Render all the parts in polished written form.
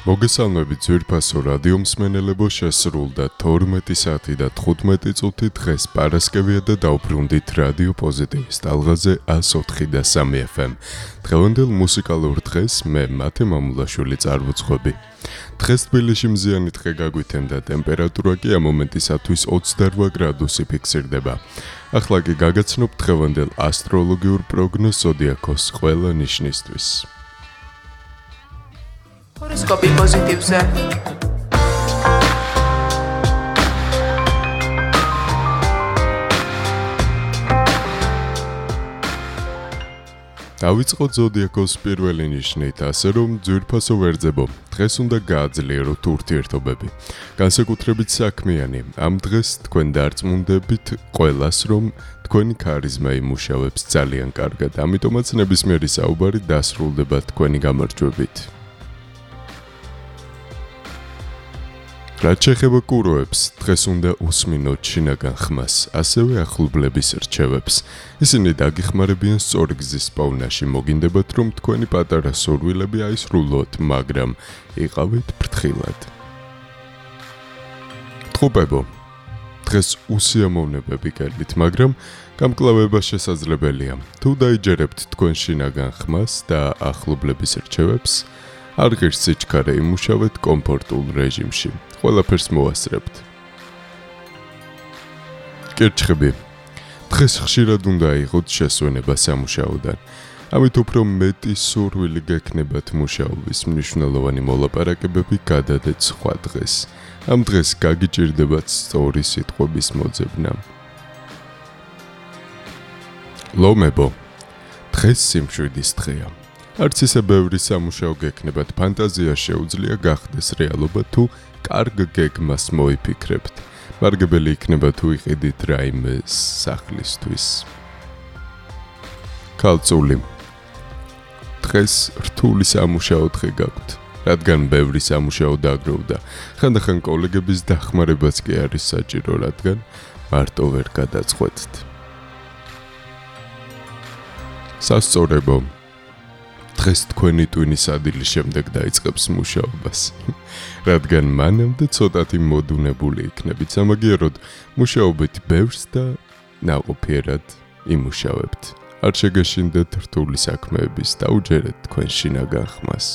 მოგესალმებით ძვირფასო რადიო მსმენელებო, შესრულდა 12 საათი და 15 წუთი. დღეს პარასკევია და დავბრუნდით რადიო პოზიტივის ტალღაზე 104 და 3 FM. დღევანდელ მუსიკალურ დღეს მე მათე მამულაშვილი წარვუძღვები. დღეს თბილისში მზიანი დღე გაგვithემდა, ტემპერატურა კი ამ მომენტისათვის 28 გრადუსი ფიქსირდება. ახლა კი გაგაცნობ დღევანდელ ასტროლოგიურ პროგნოზს ზოდიაქოს ყველა ნიშნისთვის. Horoskopi pozitivze. დავიწყოთ ზოდიაქოს პირველი ნიშნით, ასე რომ ძვირფასო ვერძებო, დღეს უნდა გააძლიეროთ ურთიერთობები. განსაკუთრებით საქმიანი, ამ დღეს თქვენ დარწმუნდებით ყველას, რომ თქვენი ქარიზმა იმუშავებს ძალიან კარგად, ამიტომაც ნებისმიერი საუბარი დასრულდება თქვენი გამარჯვებით. რაც შეეხება კუროებს, დღეს უნდა უსმინოთ შინაგან ხმას, ასევე ახლობლების რჩევებს. ისინი დაგიხმარებიან სწორი გზის პოვნაში, მოგინდებათ, რომ თქვენი პატარა სურვილები აისრულოთ, მაგრამ იყავით ფრთხილად. ტყუპებო, დღეს უსიამოვნებები გელით, მაგრამ გამკლავება შესაძლებელია. თუ დაიჯერებთ თქვენ შინაგან ხმას და ახლობლების რჩევებს, არ ღირს სიჩქარე, იმუშავეთ კომფორტულ რეჟიმში. ყველაფერს მოასწრებთ. კერჩხები, დღეს ხშირად უნდა აიღოთ შესვენება სამუშაოდან. ამით უფრო მეტი სურვილი გექნებათ მუშაობის, მნიშვნელოვანი მოლაპარაკებები გადადეთ სხვა დღეს. ამ დღეს გაგიჭირდებათ სწორი სიტყვების მოძებნა. ლომებო, დღეს სიმშვიდის დღეა. არც ისე ბევრი სამუშაო გექნებათ, ფანტაზია შეუძლია გახდეს რეალობა თუ კარგ გეგმას მოიფიქრებთ. მარგებელი იქნება თუ იყიდით რაიმე სახლისთვის. ქალწული, დღეს რთული სამუშაო დღე გაქვთ, რადგან ბევრი სამუშაო დააგროვდა. ხანდახან კოლეგების დახმარებაც კი არის საჭირო, რადგან მარტო ვერ გადაწყვეტთ. სასწორებო, დღეს თქვენი ტვინის ადილის შემდეგ დაიწყებს მუშაობას, რადგან მანამდე ცოტათი მოდუნებული იქნებით, სამაგიეროდ მუშაობთ ბევრს და ნაყოფიერად იმუშავებთ. არ შეგეშინდეთ რთული საქმეების, დაუჯერეთ თქვენ შინაგან ხმას.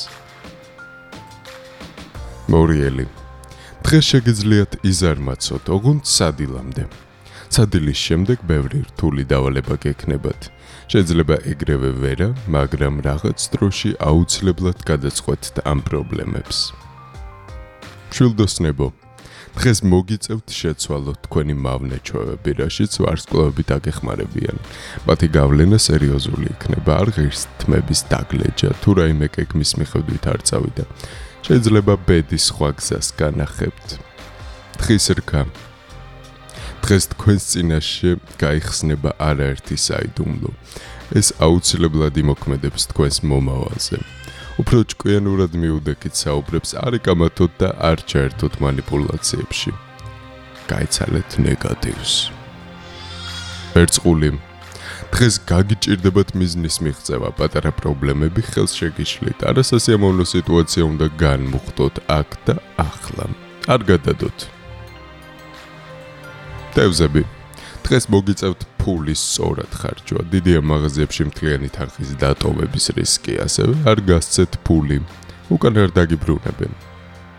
მორიელი, დღეს შეგიძლიათ იზარმაცოთ, ოღონდ სადილამდე. სადილის შემდეგ ბევრი რთული დავალება გექნებათ. შეიძლება ეგრევე ვერა, მაგრამ რაღაც დროში აუცილებლად გადაწყვეტთ ამ პრობლემებს. მშვილდოსნებო, დღეს მოგიწევთ შეცვალოთ თქვენი მავნე ჩვევები, რაშიც ვარსკვლავები დაგეხმარებიან. მათი გავლენა სერიოზული იქნება, არ ღირს თმების დაგლეჯა, თუ რაიმე გეგმის მიხედვით არ წავიდა. შეიძლება ბედის სხვა გზას განახებთ. დღის რქა, დღეს თქვენს წინაშე გაიხსნება არაერთი საიდუმლო. ეს აუცილებლად იმოქმედებს თქვენს მომავალზე. უფრო ჭკვიანურად მიუდექით საუბრებს, არ იკამათოთ და არ ჩაერთოთ მანიპულაციებში. გაიცალეთ ნეგატივს. ვერწყული, დღეს გაგიჭირდებათ მიზნის მიღწევა, პატარა პრობლემები ხელს შეგიშლით. არასასიამოვნო სიტუაცია უნდა განმუხტოთ აქ და ახლა. არ გადადოთ. თევზები, დღეს მოგიწევთ ფულის სწორად ხარჯვა. დიდია მაღაზიებში მთლიანი თანხის დატოვების რისკი, ასევე არ გასცეთ ფული, უკან არ დაგიბრუნებენ.